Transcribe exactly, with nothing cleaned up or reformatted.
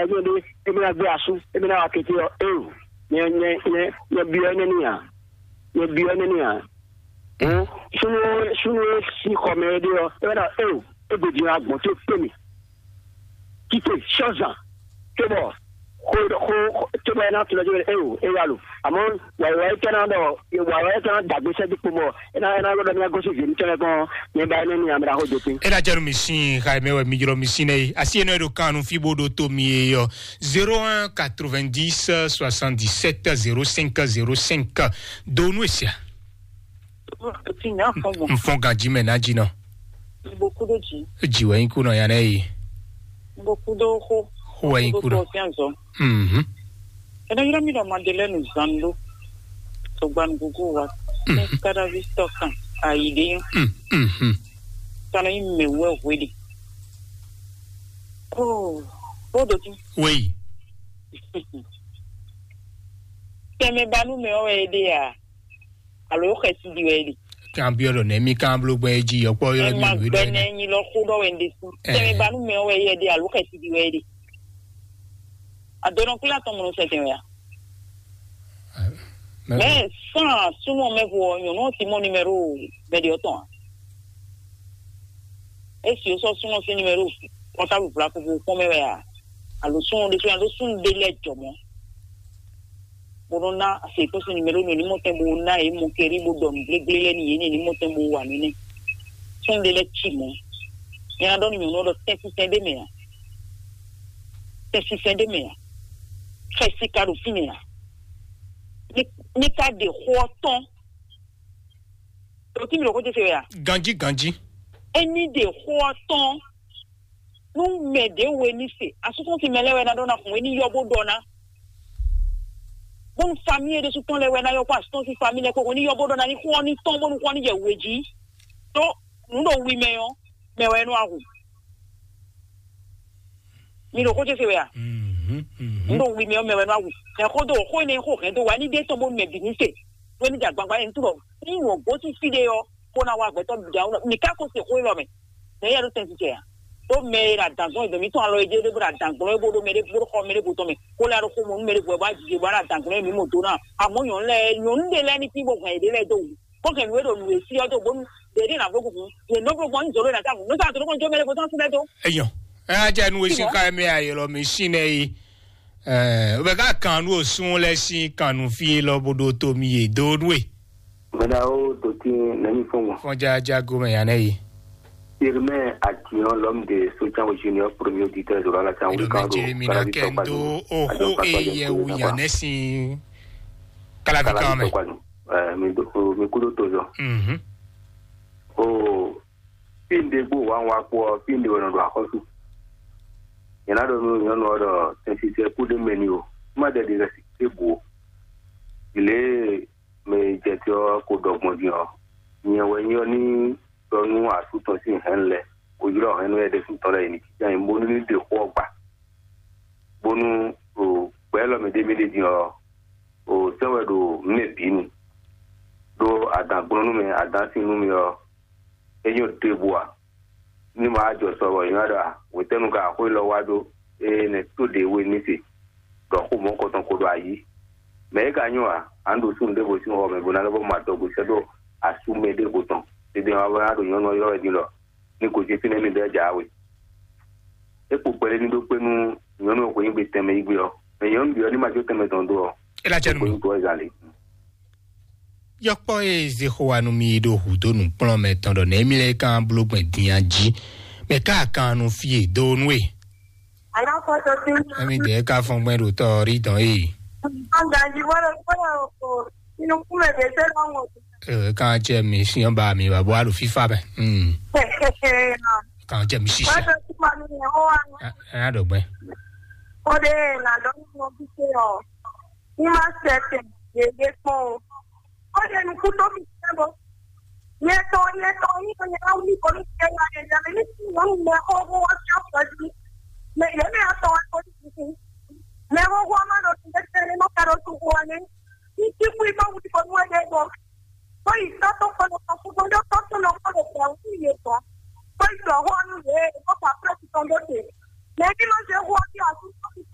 Émí ɖé, émí ná gbé asú, émí ná wa kété ɔ́, éwu, nyɛ nyɛ nyɛ nyɛ byɔ́ énɛ́ n'i ǎ. Nyɛ byɔ́ énɛ́ n'i ǎ. Hǔn súnnu e súnnu e sín xɔ mɛ é ɖe ɔ́, é wɛ ná éwu, é gbe din wá gbɔn tó kpé mì. Títè sɔ́zan, cóbɔ xó xó xó- cóbɔ é ná tunɔ jó é o é wá lo. Àmọ́ wàyíwá é tɛ́ ná ɖɔ wàyíwá é tɛ́ ná dàgbé sɛ́ dípò bɔ é ná é ná ɖɔ ní agosí zě ní tɛ́ lɛ́ gbɔn. Nyɛ ba énɛ́ ni amɛ ɖaxó dó pé. É ná jɛ nú mì sín xa e mɛ wɛ mi jlɔ́ mi sín nɛ́ yi. Asi énɛ́ ɖo kan nú fí bó ɖo to mi e ɔ́. Zéro un quatre-vingt-dix soixante-dix-sept zéro cinq zéro cinq. Do nú èsì a? Ti nya fɔn gbɔn. N fɔn ganji mɛ ná jí nɔ. N bo kú ɖó dzi. Dzi wɛ nyí kú nɔ ya nɛ yi. N bo kú ɖó xó. Xó wɛ nyí kú nɔ. N bo kú ɖó fián zɔ. Mhm. Ɛnɛ yɔrɔ mi ɖɔ Madeleine Zando. Sogban gugu wa. Mhm. Kadavi tɔkan ayi ɖe yɔ. Mm, mhm. Tana yi mɛ wɛ hwe de. Oh, bo do ti. Wei. Tɛmɛ ba nu mɛ wɛ de ya. Alo xɛsi ɖi wɛ ɖi. Kan byɔ́ ɖɔ nɛ̌ mì kan bló gbɛn é jí yɔkpɔ́ yɔ́ Ɛ ma mì wí ɖɔ gbɛnɛ nyi lɔ xó ɖɔ wɛ ɖe sú. Ɛ. Tɛmɛ ba nu mɛ wɛ yɛ ɖe alo xɛsi ɖi wɛ ɖi. Adɔnɔ kúlá tɔn mɔnɔ sɛtɛn wɛ ya. Mɛ san súnmọ́ mɛ vo ɔ́, nyɔ̌nu ɔ́ ti mɔ numéro mɛ ɖe ɔ́ tɔn a? Esi o sɔ súnmọ́ sí numéro portable vla koko kpɔ́n mɛ wɛ a? Alo súnmọ́ ɖésú alo súnmọ́ ɖé lɛ́ɛ jɔ mɔ̌. Bó nɔ́ ná afěkún sín numéro nú ní mɔtɛn bó ná yě mɔkɛrí bó ɖɔ nǔ gblégblé lɛ́ɛ nú yě ní ní mɔtɛn bó wa nǔ nɛ́. Súnnu ɖé lɛ́ɛ cí mɔ̌. Nyɛ ná ɖɔ nú nyɔ̌nu ɔ́ ɖɔ tɛ́nsínsɛn ɖé mɛ ǎ. Tɛ́nsínsɛn ɖé mɛ ǎ. Xɛsi ka ɖo fínɛ́ ǎ. Ní ní ka ɖe xó ɔ́ tɔ́n. Ɖo tí mi ɖo xó ce se wɛ a? Ganjí ganjí. Ényí ɖe xó ɔ́ tɔ́n. Nú mɛ ɖě we ní se, asúsúsi mɛ lɛ́ɛ wɛ ná ɖɔ ná xɔn é ní yɔ bó ɖɔ ná. Bónú famíli é ɖésú tɔn lɛ́ɛ wɛ ná yɔ kó asúsúsi famíli lɛ́ɛ kó xɔn ní yɔ bó ɖɔ ná ní xɔn ní tɔn bónú xɔn ní jɛ wějí. Tó nǔ ɖo wi mɛ ɔ́, mɛ wɛ nú ahu. Mi ɖo xó ce se wɛ a? Mhm, mhm. Nǔ ɖo wi mɛ ɔ́, mɛ wɛ nú ahu. Mɛ xó dó xó énɛ́ xó hɛn dó wa ní ɖé tɔn bónú mɛ bǐ ní se. Wé ní jɛ agbagba é ní túbɔ ní wɔ gǒ sín fí ɖé ɔ́, bó ná wá gbɛtɔ́ bǐ ɖe awu. Mi ka ko se xó élɔ́ mɛ. Mɛ éyɛ́ ɖo tɛn cɛ a? Ɖó mɛ e ɖo adǎn zɔn e dɔ̌n mǐtɔn alɔ e jɛ ɖé bó ɖo adǎn gblɔ́n é bó ɖó mɛ ɖé bó ɖó xɔ mɛ ɖé bó tɔn mɛ, bó lɛ́ ɖo xó mɔ nú mɛ ɖé bó wɛ bó wá jijɛ bó wá ɖo adǎn gblɔ́n e mǐ mɔ dó ná. Amɔ̌ nyɔ̌nu lɛ́ɛ nyɔ̌nu ɖé lɛ́ɛ ní tín bó hɛn yěɖée lɛ́ɛ dó wǔ, bó hɛn nǔ e ɖo nǔ e sí ɔ́ dó bónú ɖě ɖé ná bló gúgún. Yě nɔ bló gbɔn nyí zǒ ɖé ná távo. Nǔ sa tó nú kɔn jó mɛ ɖé bó tɔn sín lɛ́ɛ dó. Eyɔn, ɛ á jɛ nú e sín xá mɛ ayɛlɔ mi sín nɛ yi. Ɛ, o bɛ ká kan nú osún lɛ sín kan nú fí lɔ bó ɖó tó mi yé dó nú e. Mɛɖa ó dotí nɛmí fɔ́n gbɔn. Fɔ́n jájá gómɛ ya nɛ yi. Irmɛ Atiyan l'homme de Sotian Junior, premier auditeur de la Édɔmɛ République. Jeremina kɛndo oho eye wu yan nɛ sin kalavi kan mɛ. Mi do mi kudo to zɔ. Mhm. O fi n ɖe gbó wa wa kpɔ fi n ɖe wɛ nɔ ɖo axɔsu. Yɛn na ɖɔ nú nyɔnu ɔ ɖɔ tɛnsisɛ kú ɖe mɛ ni o. Ma ɖe ɖi rɛ si ɖe bu o. Ilé mɛ jɛ tí ɔ ko ɖɔ gbɔn din ɔ, nyɛ wɛ nyɔ ní ɖɔ nú asú tɔn sín hɛn lɛ, ko ylɔ́ hɛn nú ɛ ɖésú tɔn lɛ yi ní jínjɔ́n ayǐ bónú ní ɖe xó ɔ́ gba, bónú o gbɛ̌ lɔ mɛ ɖé mì ɖe din ɔ, o sɛ́ wɛ ɖo mɛ bǐ nu, ɖó adǎn gblɔ́n nú mɛ adǎn sín nú mì ɔ, é nyɔ́ ɖěbǔ ǎ. Ní ma wá jɔ sɔ bɔ è nɔ ɖɔ a, hwetɛ́nu ka xó élɔ́ wá ɖó, ée nɛ̌ tó ɖě we ní se, ɖɔ xó mɔ̌ kɔtɔn ko ɖo ayǐ. Mɛ̌ é ka nyɔ́ ǎ, a nǎ ɖo súnnu ɖěvo sín xɔ mɛ bó ná lɛ́ vɔ́ mɔ adɔgo sɛ́ ɖó asú mɛ ɖěvo tɔn. Tɛgbɛ ɔ́, a ná ɖo nyɔ̌nu ɔ́ ylɔ́ wɛ din ɖɔ ní gosín fínɛ́ mì ɖɔ é jǎwe. É kpo kpɛɖé ní ɖó kpé nú nyɔ̌nu e xweyǐgbe tɛnmɛ yí gbé ɔ́, mɛ nyɔ̌nu bǐ ɔ́ ní ma jó tɛnmɛ tɔn dó ɔ, Ela cɛ nu. Kpé nú tɔ́ ɛ zǎn lě. Yɔkpɔ e Zexowa nú mi ɖo hǔ dó nǔkplɔ́nmɛ tɔn ɖɔ nɛ̌ mi lɛ́ kan bló gbɛn din a jí? Mɛ ka kan nu fí e dó nú e? Alákòóso tí ń Emi dɛ ka fɔn gbɛn ɖo tɔ rí dɔn e. Gbàgbà jí wọ́n lọ gbọ́dọ̀ o inú kúmẹ̀ dé sẹ́lẹ̀ wọn. E kan cɛ mi siyan ba mi ba bɔ a ɖo fifa mɛ. Hmm. Kan cɛ mi sisi. Wọ́n tó túmọ̀ ní ìyẹn ó wà ní. Ɛ a ɖo gbɛn. Ó dé làdọ́ nínú ọ́fíìsì ọ̀. Ní máa ń ṣẹ̀ṣẹ̀ yèyé pọ̀ o. Ó lè nu kú tó fi ṣẹ́ bọ́. Yẹn tọ́ yẹn tọ́ yín kan yẹn á wí kọ́ ní ṣẹ́ wá yẹn jáde ní tí wọ́n ń mọ ọkọ̀ owó wá sí ọ̀pọ̀ sí. Mẹ ìyẹn mi á tọ́ wá kó ní tuntun. Mẹ owó wá má lọ sí ẹsẹ̀ ní mọ́kàdó tó kó wá ní.